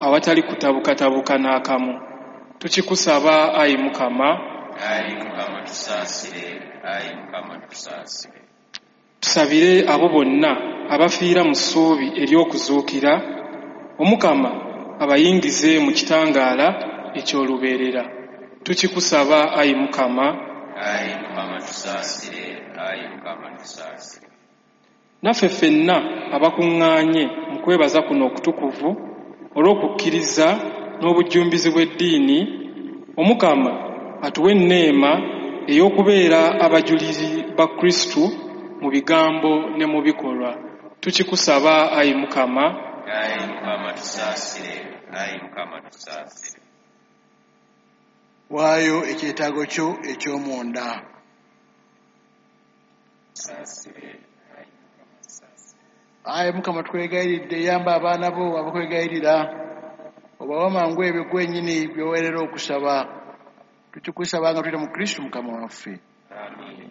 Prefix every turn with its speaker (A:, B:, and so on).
A: Awatali kutabukatabuka n'akamu. Tukikusaba ayi Mukama.
B: Ayi Mukama tusaasire, ayi Mukama tusaasire.
A: Tusabire abo bonna abafiira mu ssuubi ery'okuzuukira, Omukama abayingize mu kitangaala eky'olubeerera. Tukikusaba ayi Mukama.
B: Ayi Mukama tusaasire, ayi Mukama tusaasire.
A: Naffe ffenna abakuŋŋaanye mu kwebaza kuno okutukuvu olw'okukkiriza n'obujjumbize bw'eddiini, Omukama atuwe enneema ey'okubeera abajulizi ba Kristu mu bigambo ne mu bikolwa. Tukikusaba ayi Mukama.
B: Ayi Mukama tusaasire, ayi Mukama tusaasire.
C: Waayo ekyetaago kyo eky'omunda.
B: Tusaasire, ayi Mukama tusaasire.
C: Ayi Mukama tukwegayiridde, yamba abaana bo abakwegayirira, obawe mangu ebyo gwennyini by'oweerera okusaba. Tukikusaba nga tuyita mu Kristu Mukama waffe.
B: Amiina.